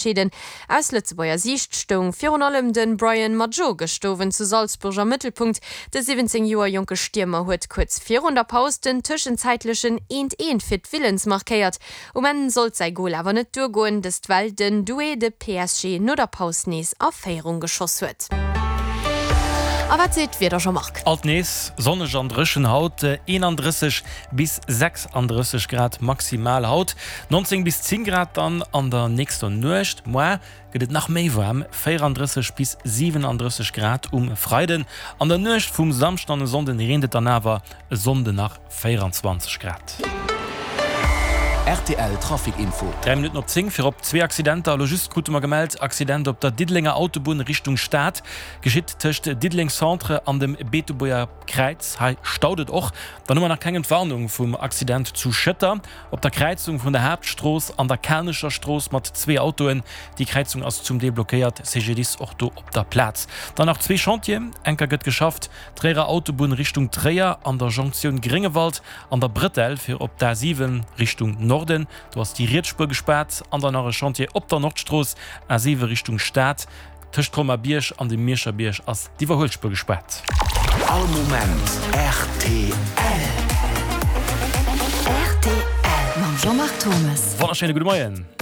Entscheeden. Aus Lëtzebuerger Siicht stoung virun allem de Brian Madjo gëscht Owend zu Salzburg am Mëttelpunkt. De 17 Joer jonke Stiermer huet kuerz virun der Paus den tëschenzäitlechen Eent-Eent fir d'Villans markéiert. Um Enn sollt säi Gol awer net duergoen, dëst well den Doué de PSG no der Paus nees a Féierung geschoss huet. A wat seet d'Wieder, Jean-Marc? Alt nees sonneg an dréchen haut, 31 bis 36 Grad maximal haut, 19 bis 10 Grad dann an der nächster Nuecht. Moar gëtt et nach méi waarm, 34 bis 37 Grad um Freiden. An der Nuecht vum Samschden an e Sonnden reent et dann awer, e Sonnde nach 24 Grad. Rtl Trafic Info. 3 Minutten op 10, Virop zwee Accidenter. Elo just krute mer gemellt, Accident op der Diddelenger Autobunn Richtung Stad, geschitt tëscht Diddeleng Centre an dem Beetebuerger Kräiz. Hei staut et och. Dann hu mer nach keng Entwarnung vum Accident zu Schëtter op der Kräizung vun der Haaptstrooss an der Kanecher Strooss mat zwee Autoen. Déi Kräizung ass zum Deel blockéiert, CGDIS och do op der Plaz. Dann nach zwee Chantieren, Enker gëtt geschafft, Tréierer Autobunn Richtung Tréier an der Jonktioun Gréngewald an der Bretelle fir op d'A7 Richtung Norden, do ass déi riets Spuer gespaart. An dann nach e Chantier op der Nordstrooss, A7 Richtung Stad. Tëscht Colmar-Bierg an dem Mierscher Bierg ass d'Iwwerhuelspuer gespaart. All Moment rtl. Rtl mam Jean-Marc Thomes. Wonnerschéine gudde Moien.